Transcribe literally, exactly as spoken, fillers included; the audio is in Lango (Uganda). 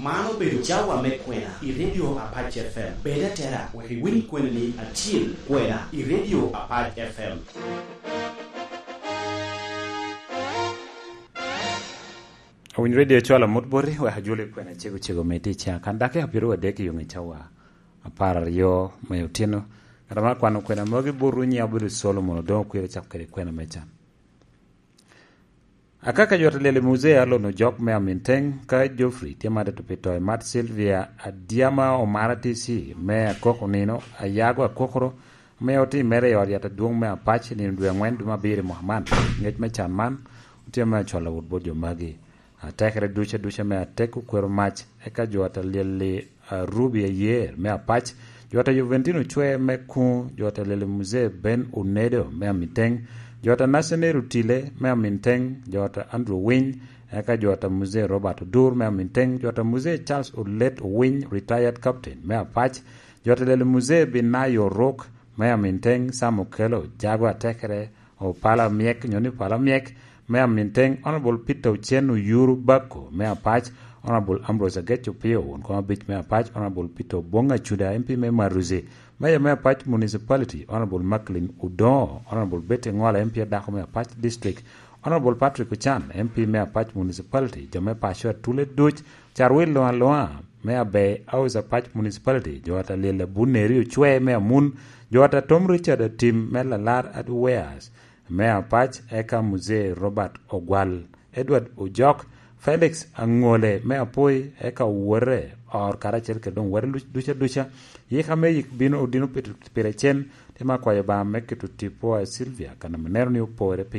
Man obedo cawa me kwena i Radio Apac F M. Bed atera wek iwiny kweni acil kwena i Radio Apac F M. Awiny Radio cwalo amut boti, wek ajolo i kwena cego cego me tic. Kan dakika pyero adek i yoŋ i cawa apar aryo me otino. Ngat ame akwano kwena magi botwu, nyiŋa obedo Solomon Odongo Kwir, acako kede kwena me can. Akaka jot a lyel i muzee Alon Ojok me Aminteng, ka Geoffrey tye ma tito pi to i mat Sylvia Adyama Omara T C me Akoko Nino, Ayago Akokoro, ame otimere i ot yat adwoŋ me Apac i nino dwe aŋwen dwe me abiro i mwaka man. Ngec me can man otye me acwalo wot bot jo magi. Atekere duca duca me atek okwero mac, eka jo ata lyel-li Arubi Ayer me Apac, jo ata Juventino Cwe me Kuŋ, jo ata lyel Muzee Ben Onedo me Aminteng, jo ata Nathaniel Otile me Aminteng, jo ata Andrew Winy, eka jo ata Muzee Robert Odur me Aminteng, jo ata Muzee Charles Olet Owiny, retired captain me Apac, jo ata lyel Muzee Binayo Oruk me Aminteng, Sam Okello, Jago Atekere, Opala Myek, nyo ni Opala Myek, me Aminteng, Honorable Peter Ochen Oyuru Bako me Apac, Honorable Ambrose Agec Opio, won kom abic me Apac, Honorable Peter Obong Acuda, M P me Maruzi, Mayor me Apac Municipality, Honorable Macklin Odongo, Honorable Betty Ngola, M P adako me Apac District, Honorable Patrick Ochan, M P me Apac Municipality, jo me paco atule duc, Carwil Luŋaluŋa me Abe House Apac Municipality, jo ata lyel Abuneri Ocwe me Amun, jo ata Tom Richard Atim me Lalar Adweas, me Apac, eka Muzee Robert Ogwal, Edward Ojok, Felix Aŋole me Apoi, eka owote or karacel kede doŋ wete luc-, duca duca. Yika me yik bino odino pit-, pire cen, tye me akwayo Obaŋa me keto tipo a Sylvia, kan ame neno ni opore pi